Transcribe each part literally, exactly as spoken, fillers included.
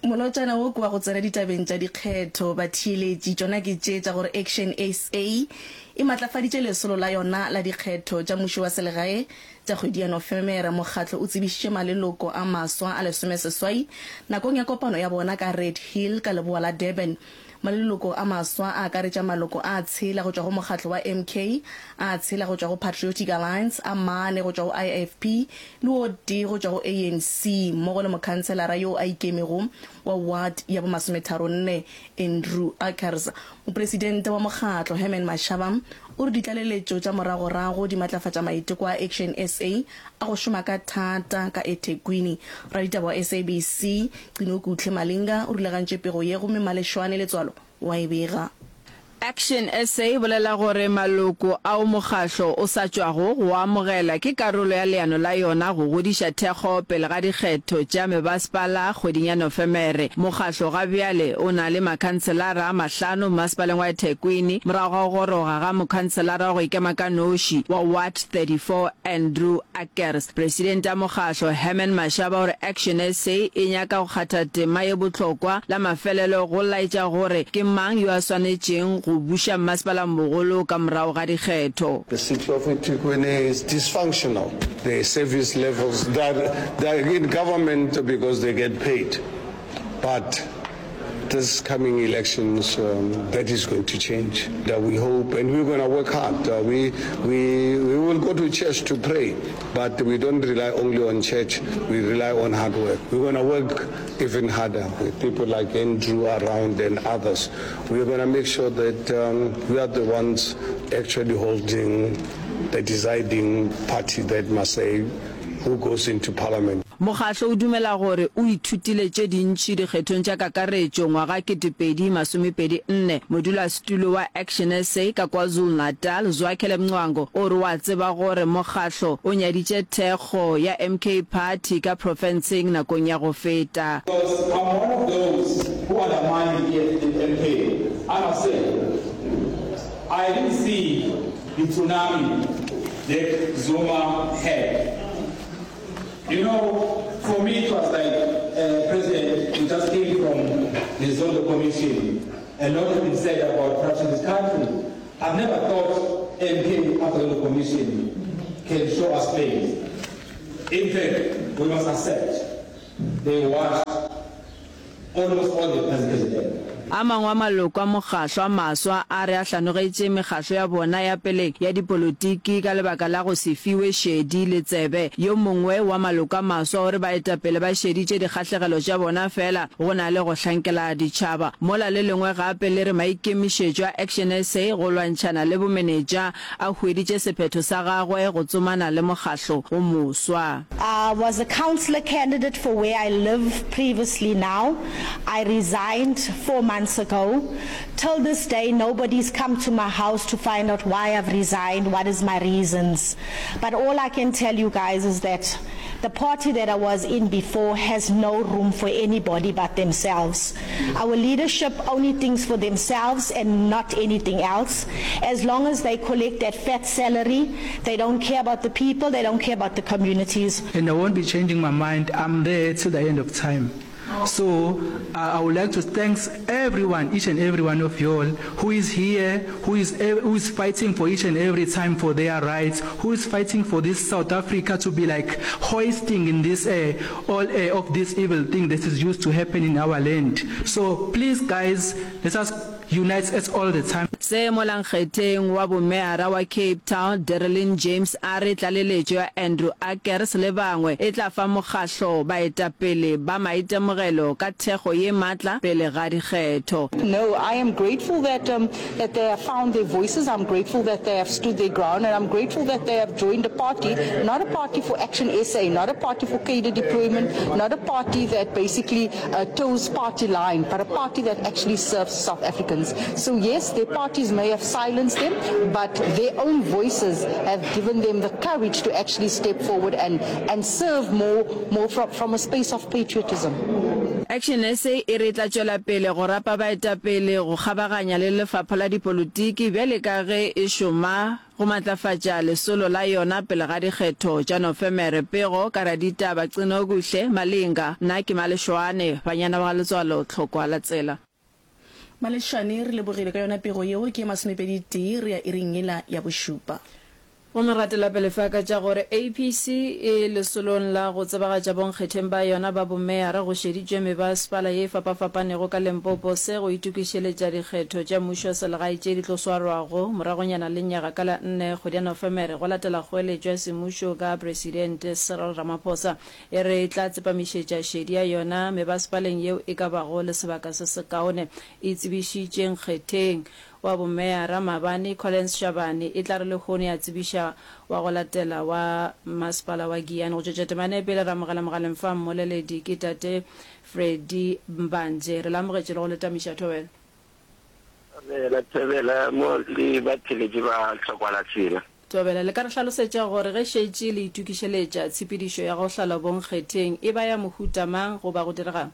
Molotšana wo ke wa go tsena ditabeng tša dikgetho. Batheeletši, tšona ke tše tša gore Action S A e matlafaditše lesolo la yona la dikgetho tša mmušo wa selegae tša kgwedi ya Nofemere. Mokgatlo o tsebišitše maleloko a maswa a lesomeseswai nakong ya kopano ya bona ka Red Hill ka leboa la Durban. Maleloko a maswa a akaretša maloko a tshela go tšwa go mokgatlo wa M K, a tshela go tšwa go Patriotic Alliance, a mane go tšwa go I F P le o tee go tšwa go A N C, mmogo le mokhanselara yo a ikemego wa ward ya bomasometharonne, Andrew Ackers. Mopresidente wa mokgatlo, Herman Mashaba, o re ditlaleletšo tša moragorago di matlafatša maiteko a Action S A a go šoma ka thata ka eThekwini. Raditaba wa S A B C Qinokuhle Malinga o rulagantše pego ye, gomme Malešwane Letswalo wa e bega. Action S A e bolela gore maloko ao mokgahlo o sa tšwago go amogela ke karolo ya leano la yona go godiša thekgo pele ga dikgetho tša mebasepala kgweding ya Nofemere. Mokgahlo ga bjale o na le makhanselara a mahlano mmasepaleng wa eThekwini morago ga go goroga ga mokhanselara wa go ikema ka noši wa Ward thirty-four, Andrew Ackers. Presidente ya mokgahlo, Herman Mashaba, o re Action S A e nyaka go kgatha tema ye bohlokwa la mafelelo go laetša gore ke mang yo a swanetšeng go buša mmasepala mogolo ka morago ga dikgetho. The city of eThekwini is dysfunctional. The service levels, they're, they're in government because they get paid. But this coming elections, um, that is going to change. That we hope, and we're going to work hard. Uh, we, we, we will go to church to pray, but we don't rely only on church. We rely on hard work. We're going to work even harder with people like Andrew around and others. We're going to make sure that um, we are the ones actually holding the deciding party that must say who goes into parliament. Mokgahlo o dumela gore o ithutile tše dintši dikgethong tša kakaretšo ngwaga ketepedi masomepedi nne. Modulasetulo wa Action S A ka KwaZulu-Natal, Zwakele Mncwango, o re wa tseba gore mokgahlo o nyaditše thekgo ya M K Party ka profenseng nakong ya go feta. Because I'm one of those who undermined the M K. I must say, I didn't see the tsunami that Zuma had. You know, for me it was like, uh, President, you just came from the Zondo Commission. A lot has been said about corruption in this country. I've never thought M K after the Commission can show us face. In fact, we must accept they washed almost all the president. A mangwe a maloko a mokgahlo a maswa a re a hlanogetše mekgahlo ya bona ya pele ya dipolotiki ka lebaka la go se fiwe šedi le tsebe. Yo mongwe wa maloko a maswa o re baetapele ba šeditše dikgahlegelo tša bona fela go na le go hlankela ditšhaba, mola le lengwe gape le re maikemišetšo a Action S A go lwantšhana le bomenetša a hweditše sephetho sa gagwe go tsomana le mokgahlo o moswa. I was a councillor candidate for where I live previously now. I resigned four months ago. Till this day, nobody's come to my house to find out why I've resigned, what is my reasons. But all I can tell you guys is that the party that I was in before has no room for anybody but themselves. Our leadership only thinks for themselves and not anything else. As long as they collect that fat salary, they don't care about the people, they don't care about the communities. And I won't be changing my mind. I'm there till the end of time. So uh, I would like to thank everyone, each and every one of you all who is here, who is, who is fighting for each and every time for their rights, who is fighting for this South Africa to be like hoisting in this uh, all uh, of this evil thing that is used to happen in our land. So please, guys, let us unite us all the time. Se molankgetheng wa bomeara wa Cape Town, Dereleen James, a re tlaleletšo ya Andrew Ackers le bangwe e tla fa mokgahlo baetapele ba maitemogelo ka thekgo ye matla pele ga dikgetho. No, I am grateful that um, that they have found their voices. I'm grateful that they have stood their ground, and I'm grateful that they have joined a party, not a party for Action S A, not a party for cadre deployment, not a party that basically uh, toes party line, but a party that actually serves South Africans. So yes, their parties may have silenced them, but their own voices have given them the courage to actually step forward and, and serve more, more from, from a space of patriotism. Action SA e re e tla tšwela pele go rapa baetapele go kgabaganya le lefapha la dipolotiki bjale ka ge e šoma go matlafatša lesolo la yona pele ga dikgetho tša Nofemere. Pego ka raditaba Qinokuhle Malinga. Nna ke Maleshwane, banyana ba ga Letswalo Tlhokwa la tsela. Maleshwane, re lebogile ka yona pego yeo. Ke ye masomepedi tee, re ya iring yela ya bošupa. Gomme ratela pele fa ka tša gore A P C e lesolong la go tsebagatša bonkgetheng ba yona ba bomeyara go šeditšwe mebasepala ye e fapafapanego ka Limpopo se go itokišeletša dikgetho tša mmušo wa selegae tše di tlo swarwago moragonyana lenyaga ka la nne kgwedi ya Nofemere go latela kgoeletšo ya semmušo ka Presidente Cyril Ramaphosa e re e tla tsepamišetša šedi ya yona mebasepaleng yeo e ka bago le sebaka se sekaone e tsebišitše nkgetheng wa bomeyara maabane Collins Chabane e tla re lehono ya tsebiša wa go latela wa masepala wa Giyani. Go tšwetša temana e pele re amogela mogaleng fa mmoleledi ke tate Freddy Mbanje. Re le amogetše le go le tamiša thobela. Thobela, thobela mo le batheletši ba Tlhokwa la Tsela. Thobela, le ka re hlalosetša gore ge šetše le itokišeletša tshepedišo ya go hlala bonkgetheng e ba ya mohuta mang goba go direga'ng?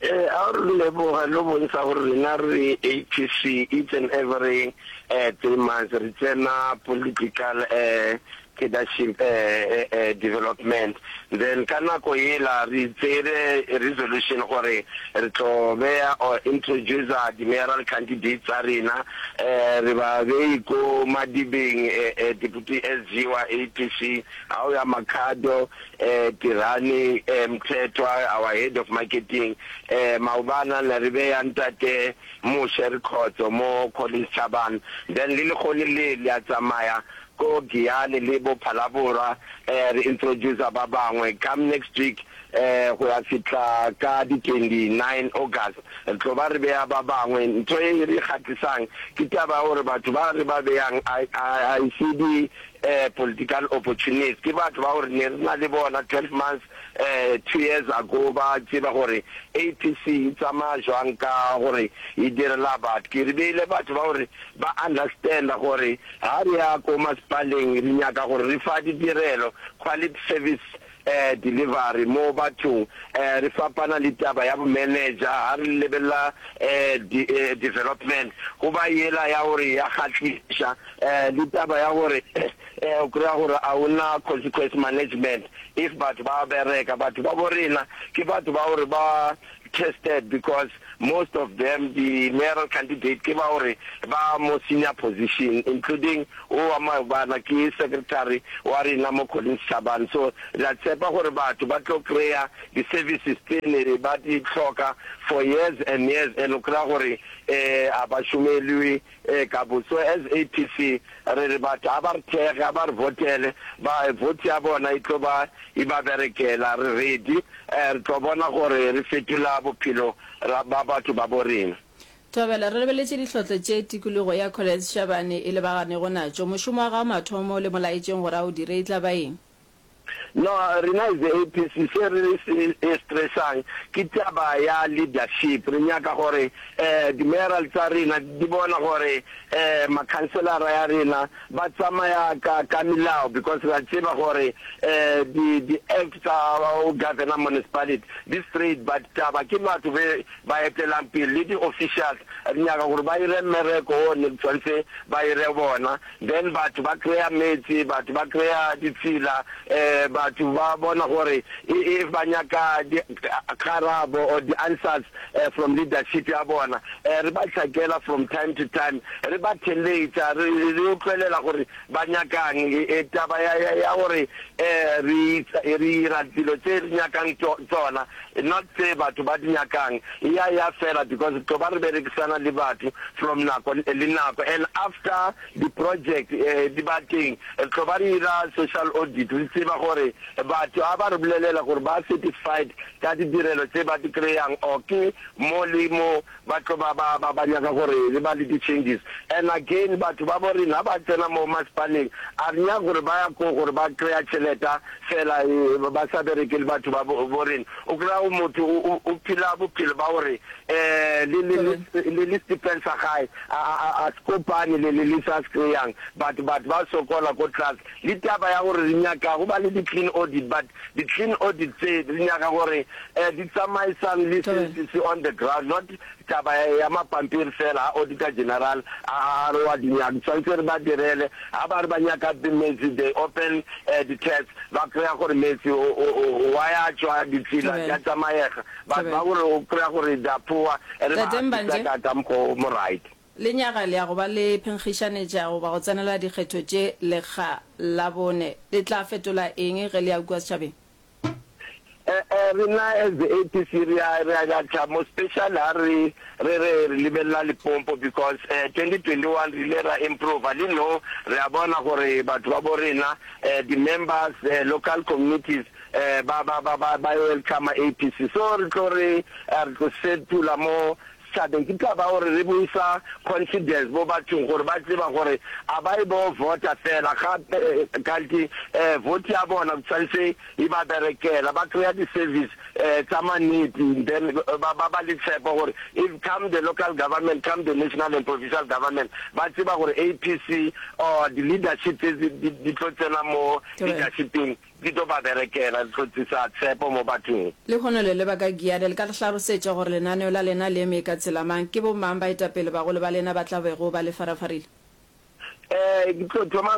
Eh, a re leboga lo bontsha gore rena re A P C each and every eh, three months re tsena political eh, leadership eh, eh, development. Then ka nako yela re tsere resolution gore re tlo beya or introduce di mayoral candidates tsa rena, eh, re ba bei ko Madibeng, eh, eh, deputy S G wa A P C, ha o ya Makhado, eh, Tirani, eh, Mthethwa, our head of marketing, eh, maobana ne re beya ntate Moshe Rikhotso mo Collins Chabane. Then le lekgone le le a tsamaya ko Giyani le bo Phalaborwa, eh, re introduce ba bangwe. Come next week, eh, go ya fihla ka di twenty-nine August, re tlo ba re beya ba bangwe. Ntho e re kgatlisang ke taba ya gore batho ba re ba beyang a, a, a se di, eh, political opportunists, ke batho ba gore ne re na le bona twelve months, eh, two years ago, ba tseba gore A P C e tsamaya jwang ka gore e direla batho. Ke re beile batho ba gore ba understand gore ha re ya ko masepaleng re nyaka gore re fa ditirelo, quality service, eh, delivery mo bathong, eh, re fapana le taba ya bo manager ha re lebella, eh, di, eh, development go ba yela ya gore ya kgahliša, eh, le taba ya gore, eh, o kry-a gore a ona consequence management if batho ba bereka. Batho ba bo rena ke batho ba gore ba tested, because most of them the mayoral candidate ke ba gore ba mo senior position, including o wa maobana ke secretary wa rena mo Collins Chabane. So re a tshepa gore batho ba tlo kry-a di-services tse ne ba di hloka for years and years, and o kry-a gore, eh, a ba šomelwe, eh, ka bo. So as A P C re re batho a ba re thekge, a ba re votele, ba vote ya bona e tlo ba e ba berekela. Re ready, eh, re tlo bona gore re fetola bophelo ra ba batho ba bo rena. Thobela, re lebeletše dihlotlo tše tikologo ya Collins Chabane e lebaganego natšo. Mošomo wa gago mathomo le molaetšeng gore a o dire e tla ba eng? No, rena as the A P C se re se e stressang ke taba ya leadership. Re nyaka gore, eh, di-mayoral tsa rena di bona gore, eh, makhanselara ya rena ba tsamaya ka, ka melao, because re a tseba gore, eh, di, di act tsa go governor municipality di straight, but taba ke batho be ba etelang pele le di-officials. Re nyaka gore ba ire mmereko o ne tshwanetse ba ire bona, then batho ba kry-a metsi, batho ba kry-a ditsela, eh, batho ba bona gore if ba nyaka di-karabo or di-answers, eh, from leadership ya bona, eh, re ba hlakela from time to time, re ba theletša, re, re utlwelela gore ba nyakang. E, e, taba ya, ya, ya gore, eh, re, re ira dilo tse re nyakang tsona, not tse batho ba di nyakang, ya, ya fela, because tlo ba re berekisana le batho from nako le nako. And after the project, eh, di ba teng, re tlo ba re ira social audit, re tseba gore batho ha ba re bolelela gore ba satisfied ka ditirelo tse ba di kry-ang, or ke mo le mo ba tlo ba ba ba ba ba nyaka gore re ba le di-changes. And again batho ba bo rena ha ba tsena mo masepaleng a re nyake gore ba ya ko gore ba kry-a tšheleta fela ba sa berekele batho ba bo rena. O kry-a motho o o phela bophelo ba gore um le le le le stipend sa gae a a a se kopane le le le sa se kry-ang but batho ba sokola ko tlase. Le taba ya gore re nyaka go ba le di-clean audit but di-clean audit tse re nyaka gore um di tsamaisane le se se on the ground not taba ya mapampiri fela ha Auditor General a re wa di nyaka tshwanetse re ba direle ha ba re ba nyaka metsi they open di taps ba kry-a gore metsi wa ya tšwa ditsela di a tsamayega but ba gore o kry-a gore they are poor re ba Tate assista Mbanje. ka ka mokgwa o mo right. Lenyaga le ya go ba le phenkgišanetša goba go tsenela dikgetho tše lekga la bone. Le tla fetola eng ge le ya kua setšhabeng? Eh rena as the A P C re a re a tla mo special ha re re re re lebelela Limpopo because eh twenty twenty one re ile ra improve le no re a bona gore batho ba bo rena eh di members eh local communities eh ba ba ba ba ba welcome A P C so re tlo re re tlo setula mo setšhabeng ke taba gore re buisa confidence mo bathong gore ba tseba gore a ba e bo vota fela gape kanti eh vote ya bona tshwanetse e ba berekela ba kry-a di-service eh tsa mannete then ba ba ba le tshepo gore if come the local government come the national and provincial government ba tseba gore A P C or the leadership tse di tlo tsena mo leadershipeng di tlo ba berekela di tlo tsisa tshepo mo bathong. Lehono le leba ka Giyani, le ka re hlalosetša gore lenaneo la lena le eme ka tsela mang? Ke bomang baetapele bagolo ba lena ba tla bego ba le farafarile? Eh ke tlo thoma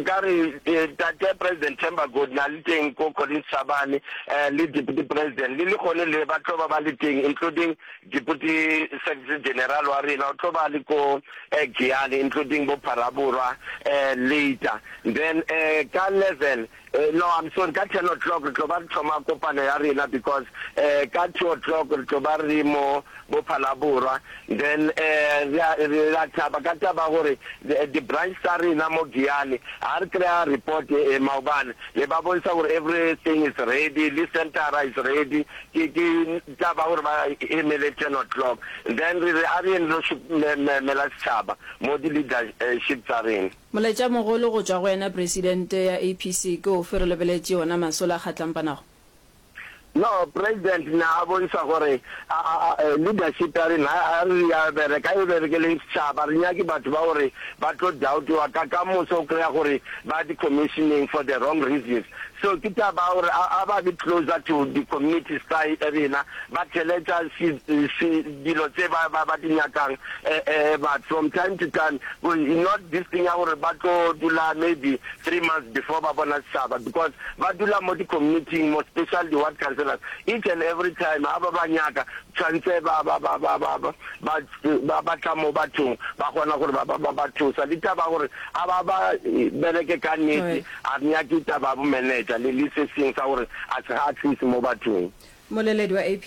ka re tate President Themba Godi na le teng ko Collins Chabane eh le Deputy President le le gone le ba tlo ba ba le teng including Deputy Secretary General wa rena o tlo ba le ko eh Giyani including bo Phalaborwa eh later then eh ka eleven eh no I'm sorry ka ten o'clock re tlo ba re thoma kopano ya rena because eh ka two o'clock re tlo ba re mo bo Phalaborwa then eh re a thaba ka taba gore di branch tsa rena mo Giyani ha re kry-a report eh maobane le ba bontsha gore everything is ready le centera is ready ke ke taba gore ba emele ten o'clock then re re a re yeng re lo mela setšhaba mo di leadership tsa rena. Molaetša mogolo go tšwa go wena Presidente ya A P C ke ofe re lebeletše ona masolo a kgatlampanago? No president na a bontsha gore leadership ya rena ha re ya bereka e berekele setšhaba re nyake batho ba gore ba tlo doubtiwa ka ka moso o kry-a gore ba di-commissioning for the wrong reasons so ke taba gore a ba be closer to the communities tsa rena ba theletša dilo tse ba ba di nyakang but from time to time not this thing ya gore ba tlo dula maybe three months before ba bona setšhaba because ba dula mo di-community mo special di-ward councillors each and every time ha ba ba nyaka tshwanetse ba ba ba ba ba ba ba ba tla mo bathong ba kgona gore ba ba ba thusa le taba gore a ba ba bereke ka nnete a re nyake taba bo manager le le se seng sa gore a se ga tlise mo bathong. Moleledi wa A P